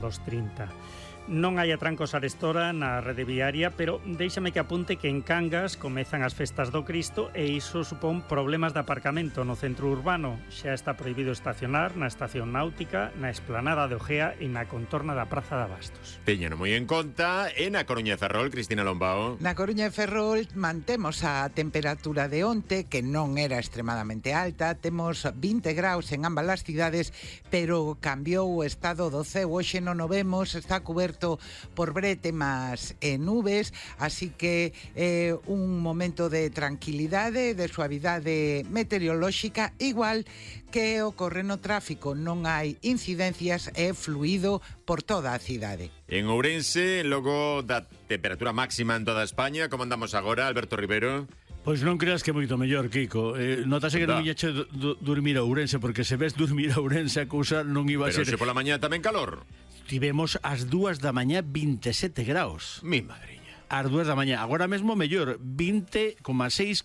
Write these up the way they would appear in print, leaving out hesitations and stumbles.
dos 30. Non hai atrancos arestora na rede viaria, pero déixame que apunte que en Cangas comezan as festas do Cristo e iso supón problemas de aparcamento no centro urbano. Xa está prohibido estacionar na estación náutica, na esplanada de Ojea e na contorna da Praza de Abastos. Teñano moi en conta. E na Coruña de Ferrol, Cristina Lombao. Na Coruña de Ferrol mantemos a temperatura de onte, que non era extremadamente alta. Temos 20 graus en ambas as cidades, pero cambiou o estado do ceo. Hoxe non o vemos, está coberto por brétemas e nubes, así que un momento de tranquilidade, de suavidade meteorolóxica, igual que ocorre no tráfico. Non hai incidencias, é fluido por toda a cidade. En Ourense, logo da temperatura máxima en toda España, como andamos agora, Alberto Rivero? Pois non creas que é moito mellor, Kiko. Notase que non ia dormir a Ourense, porque se ves dormir a Ourense a cousa non iba a ser... Pero se pola mañá tamén calor. Tivemos ás 2 da mañá 27 graus. Mi madriña. Ás 2 da mañá. Agora mesmo mellor, 20,6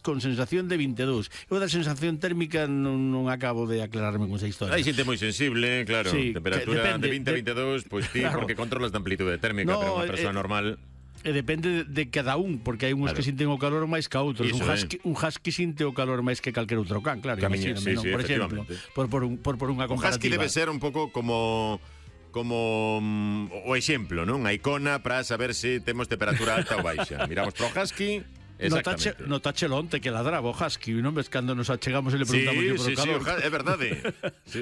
con sensación de 22. Eu da sensación térmica non acabo de aclararme con esa historia. Hai xente moi sensible, claro. Sí, temperatura de 20 a 22, pois ti, claro, porque controlas de amplitude térmica, no, pero unha persoa normal... depende de cada un, porque hai uns, claro, que sinten o calor máis que outros. Un husky sinte o calor máis que calquer outro can, claro. Sí, por exemplo, por unha comparativa. Un husky debe ser un pouco como o exemplo, non? A icona para saber se temos temperatura alta ou baixa. Miramos pro husky. Notache onte que ladraba o husky, non ves cando nos achegamos e le preguntamos por o calor. Sí, é verdade.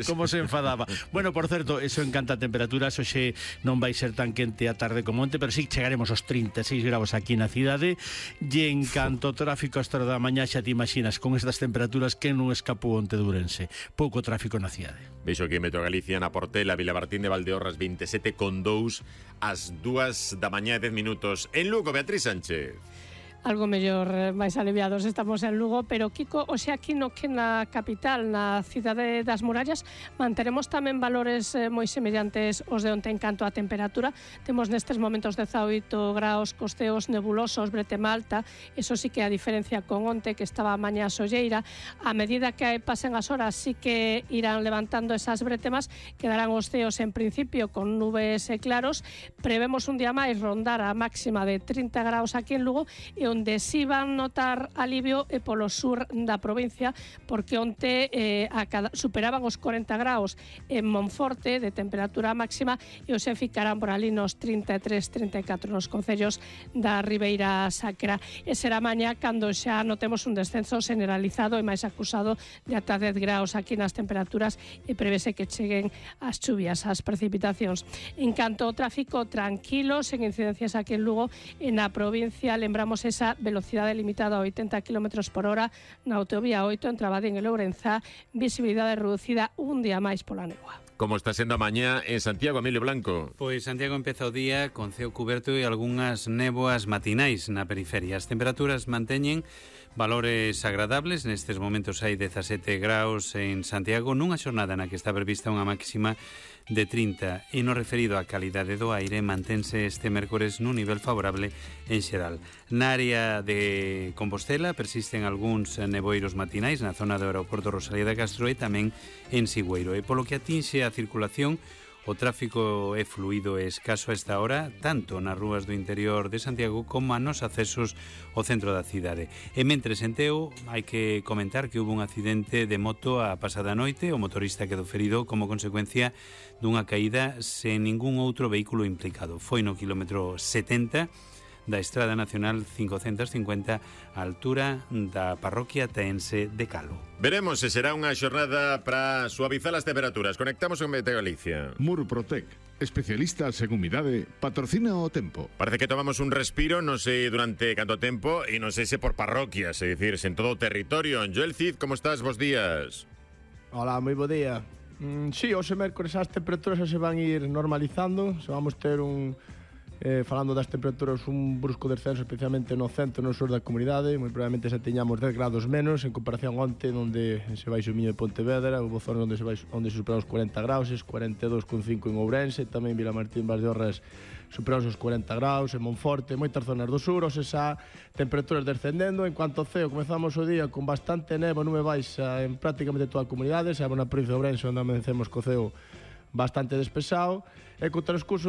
Como se enfadaba. Bueno, por certo, eso encanta a temperatura. Hoxe non vai ser tan quente a tarde como onte, pero sí chegaremos aos 36 graus aquí na cidade. E en canto ao tráfico a esta hora da mañá, xa te imaginas, con estas temperaturas, que non escapou onte de Ourense. Pouco tráfico na cidade. Veixo aquí en Metro Galicia, na Portela, Vilamartín de Valdeorras, 27,2 ás 2 da mañá e 10 minutos. En Lugo, Beatriz Sánchez. Algo mellor, máis aliviados estamos en Lugo, pero Kiko, o sea, aquí no que na capital, na cidade das murallas, manteremos tamén valores moi semellantes aos de onte en canto a temperatura. Temos nestes momentos 18 graus, costeos nebulosos, bretema alta, eso sí que a diferencia con onte, que estaba a mañá solleira. A medida que pasen as horas, sí que irán levantando esas bretemas, quedarán os ceos en principio con nubes e claros. Prevemos un día máis rondar a máxima de 30 graus aquí en Lugo, e onde si van notar alivio é polo sur da provincia, porque onte superaban os 40 graus en Monforte de temperatura máxima e hoxe ficarán por ali nos 33-34 nos concellos da Ribeira Sacra. E será mañá cando xa notemos un descenso generalizado e máis acusado de ata 10 graus aquí nas temperaturas, e prevese que cheguen as chuvias, as precipitacións. En canto ao tráfico, tranquilo, sen incidencias aquí en Lugo. En a provincia lembramos esa velocidade limitada a 80 km por hora na autovía 8 entre Abadín e Lourenzá, visibilidade reducida un día máis pola néboa. Como está sendo a mañá en Santiago, Emilio Blanco? Pois Santiago empeza o día con ceo cuberto e algunhas néboas matinais na periferia. As temperaturas manteñen valores agradables. Nestes momentos hai 17 graus en Santiago, nunha xornada na que está prevista unha máxima de 30, e no referido á calidade do aire mantense este mércores nun nivel favorable en xeral. Na área de Compostela persisten algúns neboiros matinais na zona do aeroporto Rosalía de Castro e tamén en Sigüeiro. E polo que atinxe a circulación, o tráfico é fluido e escaso a esta hora, tanto nas rúas do interior de Santiago como nos accesos ao centro da cidade. E mentres en Teo, hai que comentar que houve un accidente de moto a pasada noite. O motorista quedou ferido como consecuencia dunha caída sen ningún outro vehículo implicado. Foi no quilómetro 70 da Estrada Nacional 550, a altura da parroquia teense de Calo. Veremos se será unha xornada para suavizar as temperaturas. Conectamos con Meteo Galicia. Murprotec, especialistas en humidade, patrocina o tempo. Parece que tomamos un respiro, non sei durante canto tempo, e non sei se por parroquias, é dicir, en todo o territorio. Joel Cid, como estás? Bos días. Hola, moi bo día. Sí, hoxe mércores as temperaturas se van ir normalizando, se vamos ter falando das temperaturas, un brusco descenso especialmente no centro e no sur da comunidade. Moi probablemente se teñamos 10 grados menos en comparación onte, onde se vai o Miño de Pontevedra, houve zonas onde se superan os 40 graus, 42,5 en Ourense, tamén Vilamartín, Valdeorras superan os 40 graus, en Monforte, moitas zonas do sur, ou xa temperaturas descendendo. En cuanto ao ceo, comezamos o día con bastante nevo, nube baixa en prácticamente toda a comunidade, xa na provincia de Ourense onde amanecemos co ceo bastante despexado, e co transcurso